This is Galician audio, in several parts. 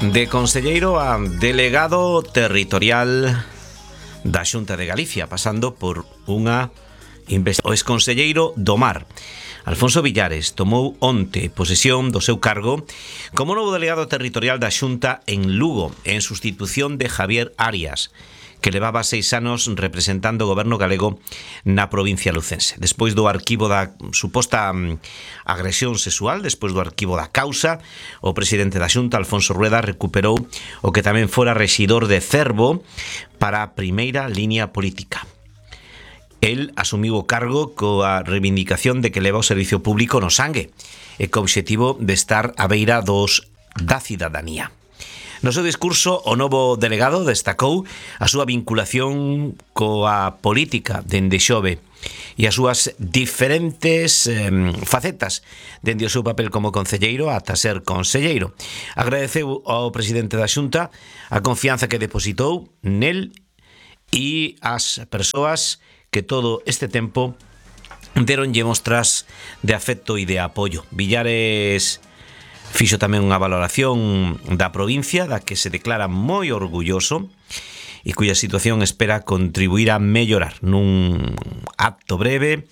De conselleiro a delegado territorial da Xunta de Galicia, pasando por unha investigación. O exconselleiro do Mar, Alfonso Villares, tomou onte posesión do seu cargo como novo delegado territorial da Xunta en Lugo, en sustitución de Javier Arias, que levaba 6 anos representando o goberno galego na provincia lucense. Despois do arquivo da suposta agresión sexual, despois do arquivo da causa, o presidente da Xunta, Alfonso Rueda, recuperou o que tamén fora rexidor de Cervo para a primeira liña política. El asumiu o cargo coa reivindicación de que leva o servicio público no sangue e co obxectivo de estar á beira da cidadanía. No seu discurso, o novo delegado destacou a súa vinculación coa política dende xove e as súas diferentes facetas dende o seu papel como concelleiro ata ser conselleiro. Agradeceu ao presidente da Xunta a confianza que depositou nel e as persoas que todo este tempo deronlle mostras de afecto e de apoio. Villares fixo tamén unha valoración da provincia da que se declara moi orgulloso e cuya situación espera contribuir a mellorar. Nun acto breve,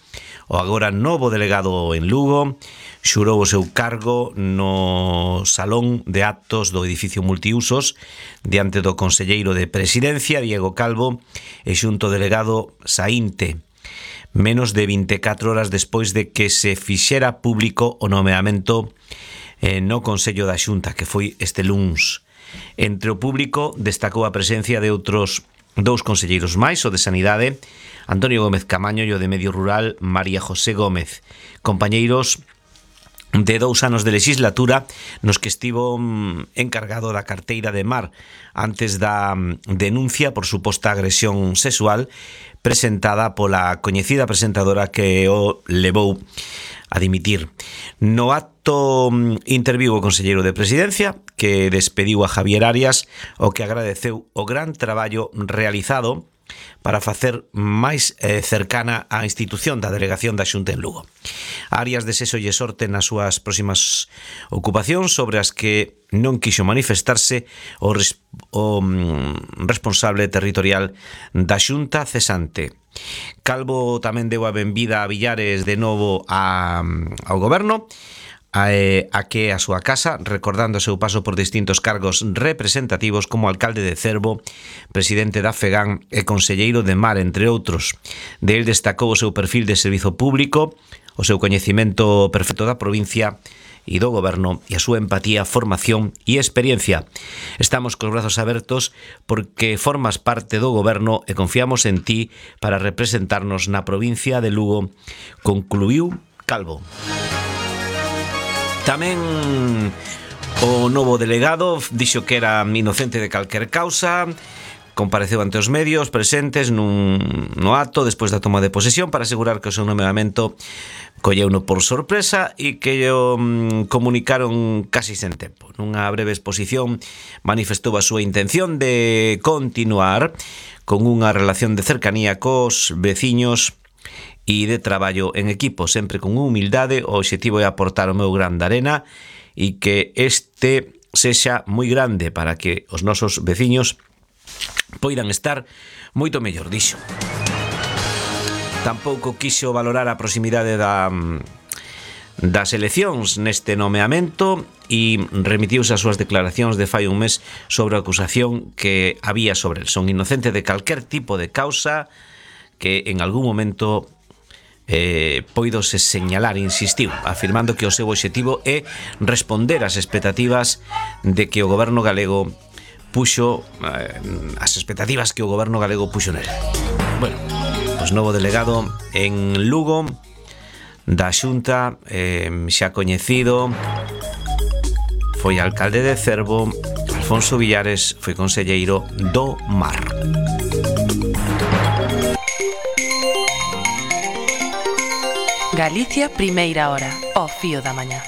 o agora novo delegado en Lugo xurou o seu cargo no salón de actos do edificio multiusos diante do conselleiro de Presidencia, Diego Calvo, e xunto delegado Saínte, menos de 24 horas despois de que se fixera público o nomeamento no Consello da Xunta, que foi este luns. Entre o público destacou a presencia de outros 2 conselleiros máis, o de Sanidade, Antonio Gómez Camaño, e o de Medio Rural, María José Gómez, compañeiros de 2 anos de legislatura nos que estivo encargado da carteira de Mar antes da denuncia por suposta agresión sexual presentada pola coñecida presentadora que o levou a dimitir. No acto interviu o conselleiro de Presidencia, que despediu a Javier Arias, o que agradeceu o gran traballo realizado para facer máis cercana a institución da delegación da Xunta en Lugo. Arias desexolle sorte nas súas próximas ocupacións, sobre as que non quixo manifestarse o responsable territorial da Xunta cesante. Calvo tamén deu a benvida a Villares de novo ao goberno, a que a súa casa, recordando o seu paso por distintos cargos representativos como alcalde de Cervo, presidente da FEGAN e conselleiro de Mar, entre outros. De él destacou o seu perfil de servizo público, o seu coñecemento perfecto da provincia e do goberno e a súa empatía, formación e experiencia. Estamos cos brazos abertos porque formas parte do goberno e confiamos en ti para representarnos na provincia de Lugo, concluiu Calvo. Tamén o novo delegado dixo que era inocente de calquer causa, compareceu ante os medios presentes no acto despois da toma de posesión para asegurar que o seu nomeamento colleuno por sorpresa e que o comunicaron casi sen tempo. Nunha breve exposición manifestou a súa intención de continuar con unha relación de cercanía cos veciños e de traballo en equipo, sempre con humildade. O obxectivo é aportar o meu gran de arena e que este sexa moi grande para que os nosos veciños poidan estar moito mellor, dixo. Tampouco quixo valorar a proximidade das eleccións neste nomeamento e remitiuse as súas declaracións de fai un mes sobre a acusación que había sobre el. Son inocente de calquer tipo de causa que en algún momento poidose señalar, insistiu, afirmando que o seu obxectivo é responder ás expectativas de que o goberno galego puxo as expectativas que o goberno galego puxo nel. Bueno, pois novo delegado en Lugo da Xunta, xa coñecido, foi alcalde de Cervo. Alfonso Villares foi conselleiro do Mar. Galicia, primeira hora, ao fío da mañá.